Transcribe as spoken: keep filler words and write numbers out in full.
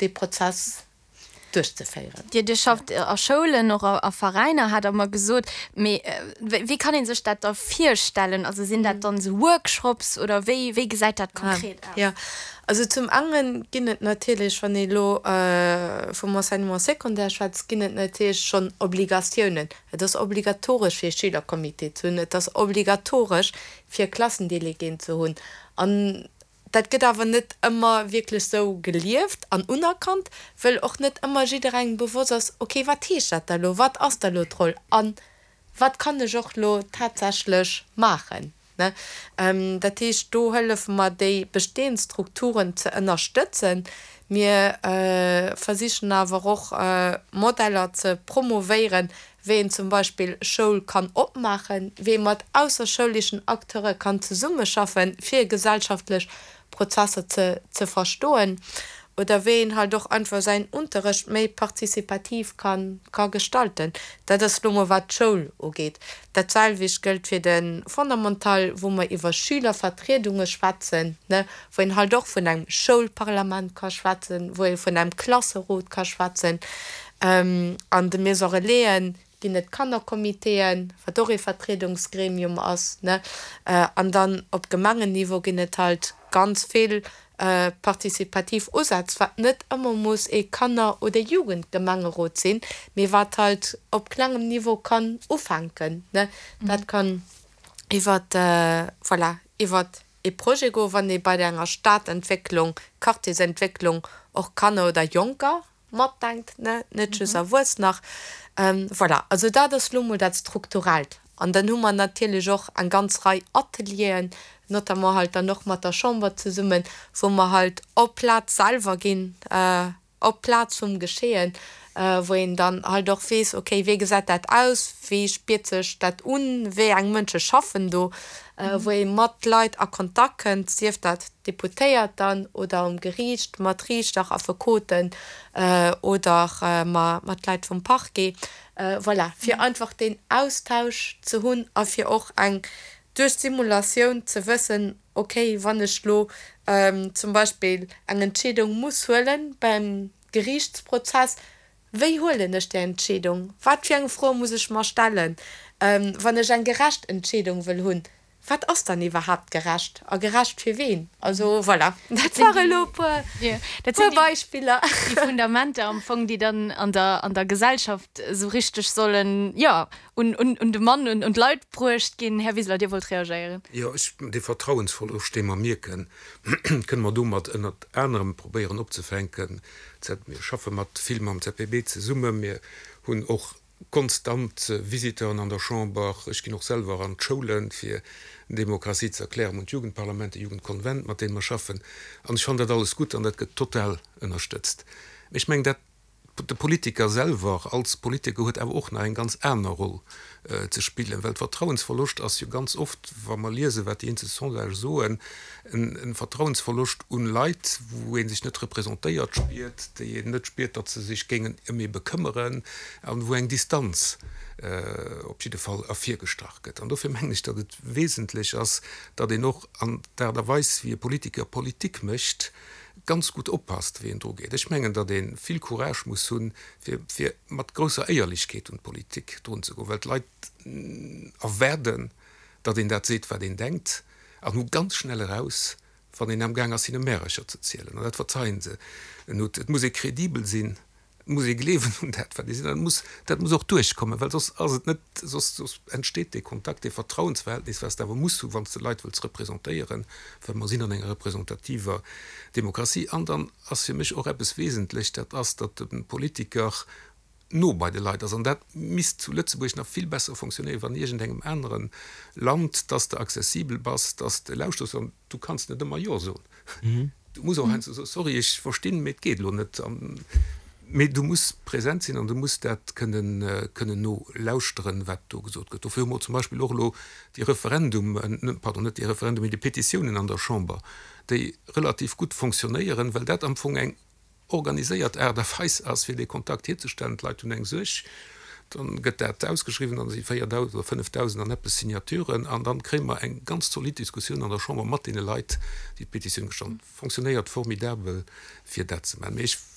dee Prozess duerchzeféieren. Dir, Dir schafft a Schoulen, och a Veräiner, hat Der mer gesot. Mee wéi kann ee sech dat da virstellen? Also sinn dat dann esou Workshops oder wéi, wéi gesäit dat konkret aus? Jo, also zum enge ginn et natierlech, wann ee lo vum Enseignement secondaire schwätzt, ginn et natierlech schonn Obligatiounen. Et ass obligatoresch fir e Schülercomité ze hunn, et ass obligatoresch fir Klassendeleguéen ze hunn. An dat gëtt awer net ëmmer wierklech sou gelieft an unerkannt, wëll och net ëmmer jidderengem bewosst ass, okay, wat heescht dat da lo, wat ass da lo d'Roll a wat kann ech och lo tatsächlech maachen, ne? Dat heescht, do hëllefe mer déi bestehend Strukturen ze ënnerstëtzen. Mir versichen awer och Modeller ze promovéieren, wéi een zum Beispill Schoul kann opmaachen, wéi ee mat ausserschouleschen Acteure kann zesummeschaffen, fir gesellschaftlech Prozesser ze ze verstoen, oder wéi een halt och einfach säin Unterrecht méi participativ kann ka gestalten. Dat ass lo mol wat d'Schoul ugeet. Dat selwecht gëllt fir de Fondamental, wou mer iwwer Schülervertriedunge schwätzen, ne, wou een halt och vun engem Schoulparlament ka schwätzen, wou ee vun engem Klasserot ka schwätzen. An de Maison Relaisen ginn et Kannercomitéen, wat och ee Vertriedungsgremium ass, ne. An dann op Gemengenniveau ginn et halt ganz vill participativ Usätz, wat net ëmmer muss ee Kanner oder Jugendgemengerot sinn, mee wat halt op klengem Niveau kann ufänken, ne. Dat kann iwwer, voilà, iwwer ee Projet goen, wann ee bei enger Stadentwécklung, Quartiersentwécklung och Kanner oder Jonker matdenkt, ne, net just Erwuessener. Voilà, also dat ass lo mol dat Strukturellt. An dann hu mer natierlech och eng ganz Rei Atelieren, notamment halt dann och mat der Chamber zesummen, wou mer halt op d'Plaz selwer ginn, op d'Plaz vum Geschehen, wou een dann halt och weess, okay, wéi gesäit dat aus, wéi spiert sech dat un, wéi eng Mënsche schaffen do, wou ee mat Leit a Kontakt kënnt, sief dat Deputéiert dann oder um Geriicht mat Riichter, Affekoten oder mat Leit vum Parquet. Voilà, fir einfach deen Austausch ze hunn a fir och eng duerch d'Simulatioun ze wëssen, okay, wann ech lo zum Beispill eng Entscheedung muss huelen beim Geriichtsprozess, wéi huelen ech déi Entscheedung, wat fir eng Froe muss ech mer stellen, wann ech eng gerecht Entscheedung wëll hunn, wat ass dann iwwerhaapt gerecht a gerecht fir ween? Also voilà, dat ware elo e puer, dat sinn Beispiller. Déi Fundamenter am Fong, déi dann an der, an der Gesellschaft esou richteg sollen, jo, un, un, un de Mann, un, un d'Leit bruecht ginn. Här Wiseler, Dir wollt reagéieren. Jo, ech, dee Vertrauensverloscht, dee mer mierken, kënne mer domat ënnert anerem probéieren opzefänken. Mir schaffe mat vill mam Z P B zesummen. Mir hunn och konstant Visiteuren an der Chamber. Ech ginn och selwer an d'Schoulen, fir Demokratie ze erklären. Mir hunn d'Jugendparlament, de Jugendkonvent, mat deene mer schaffen. An ech fannen dat alles gutt an dat gëtt total ënnerstëtzt. Mee ech mengen, dat de Politiker selwer als Politiker huet awer och nach eng ganz aner Roll ze spillen, well Vertrauensverloscht ass jo ganz oft, wa mer liesen, wat déi eenzel Sondagë soen, e Vertrauensverloscht un Leit, wou ee sech net representéiert spiert, déi een net spiert, datt se sech géingen ëm ee bekëmmeren an wou eng Distanz op jidde Fall ervirgestrach gëtt. An dofir mengen ech, datt et wesentlech ass, datt een och an der Aart a Weis, wéi e Politiker Politik mécht, ganz gutt oppasst, wéi en dru geet. Ech mengen, datt ee vill Courage muss hunn, fir fir mat grousser Éierlechkeet un d'Politik drun ze goen, well d'Leit erwaarden, datt een dat seet, wat een denkt, an hu ganz schnell eraus, wann een amgaang ass, hinne Märercher ze zielen. An dat verzeien se net. Et muss ee kredibel sinn, et muss ee gleewen un dat, wat ee seet, an dat muss, dat muss och duerchkommen, well soss ass et net, soss, soss entsteet dee Kontakt, dee Vertrauensverhältnis, wat s de awer muss hu wann s de Leit wëlls representéieren, well mer sinn an enger representativer Demokratie. An dann ass fir mech och eppes wesentlech, dat ass, datt de Politiker no bei de Leit ass. An dat misst zu Lëtzebuerg nach vill besser fonctionnéieren, wéi an iergendengem anere Land, datt s de accessibel bass, datt s de lauschters. An du kanns net ëmmer Jo soen. Du muss och heiansdo soen, Sorry, ech verstinn, mee et geet elo net. Mee du muss present sinn an du muss dat kënnen, kënnen nolauschteren, wat do gesot gëtt. Dofir hu mer zum Beispill och elo déi Referendum, pardon, net déi Referendum, mee déi Petitiounen an der Chamber, déi relativ gutt fonctionnéieren, well dat am Fong eng organiséiert Aart a Weis ass, fir dee Kontakt hierzestellen. D'Leit hunn eng Suerg, dann gëtt dat ausgeschriwwen, dann si véierdausend oder fënnefdausend an eppes Signaturen an dann kréie mer eng ganz zolidd Diskussioun an der Chamber mat deene Leit, déi d'Petitioun gestallt hunn. Fonctionnéiert formidabel, fir dat ze maachen. Mee ech